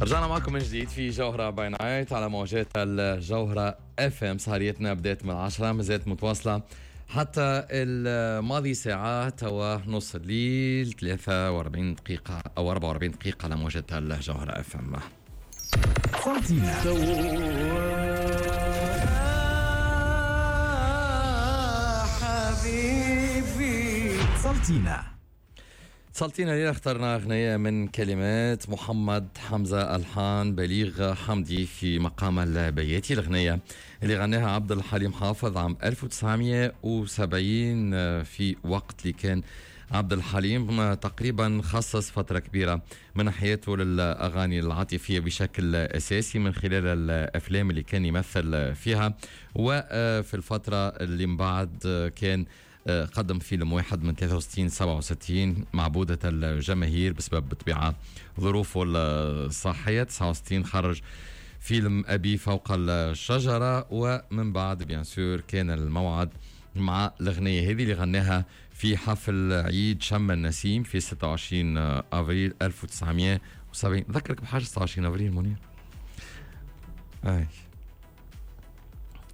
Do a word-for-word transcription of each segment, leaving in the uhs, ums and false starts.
رجعنا معكم من جديد في جوهرة by Night على موجات الجوهرة اف ام. سهريتنا بدأت من عشرة، مازالت متواصلة حتى الماضي ساعات ونص الليل، ثلاثة وأربعين دقيقة أو أربعة وأربعين دقيقة على موجات الجوهرة اف ام. سلطينة. حبيبي. سلطينة. سلطينا ليلة اخترنا أغنية من كلمات محمد حمزة، ألحان بليغ حمدي في مقام البياتي. الأغنية اللي غناها عبد الحليم حافظ عام ألف وتسعمية وسبعين، في وقت اللي كان عبد الحليم تقريبا خصص فترة كبيرة من حياته للأغاني العاطفية بشكل أساسي من خلال الأفلام اللي كان يمثل فيها. وفي الفترة اللي من بعد كان قدم فيلم واحد من ثلاثة وستين سبعة وستين، معبودة الجماهير، بسبب بطبيعة ظروفه الصحية. تسعة وستين خرج فيلم أبي فوق الشجرة، ومن بعد bien sûr كان الموعد مع الأغنية هذه اللي غناها في حفل عيد شم النسيم في ستة وعشرين أفريل ألف وتسعمية وسبعين. ذكرك بحاجة ستة وعشرين أفريل منير؟ أي،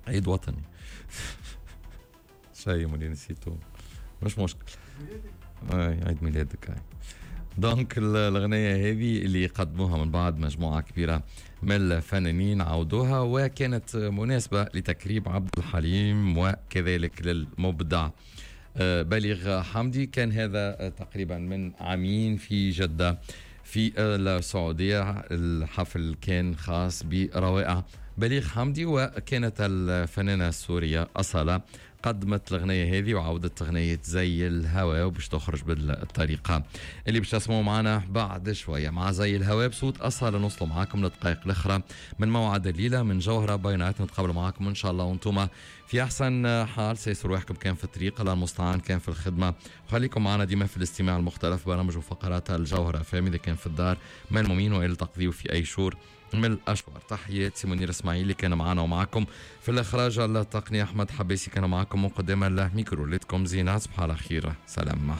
عيد وطني. شيء منير نسيته، مش مشكل. اي، عيد ميلادك. اي، donc الأغنية هذه اللي قدموها من بعد مجموعة كبيرة من الفنانين، عودوها، وكانت مناسبة لتكريم عبد الحليم وكذلك للمبدع آه، بليغ حمدي. كان هذا تقريبا من عامين في جدة في السعودية. الحفل كان خاص بروائع بليغ حمدي، وكانت الفنانة السورية أصالة قدمت الأغنية هذه وعودت أغنية زي الهواء، وباش تخرج بالطريقة اللي باش تسمعوا معنا بعد شوية. مع زي الهواء بصوت أصالة نوصلوا معاكم للدقائق الأخرى من موعد الليلة من جوهرة by Night. نتقابلوا معاكم إن شاء الله وانتم في أحسن حال. سيسوا رواحكم، كان في الطريق الله المستعان، كان في الخدمة، وخليكم معنا ديما في الاستماع المختلف برامج وفقرات الجوهرة اف ام، إذا كان في الدار ملمومين وإلى تقضيوا في أي شور من الأشوار. تحيات سي منير اسماعيل اللي كان معنا ومعكم في الإخراج التقني، أحمد حبيسي كان معكم من قدام الميكرو. ليلتكم زينة، تصبحوا على خير، سلام.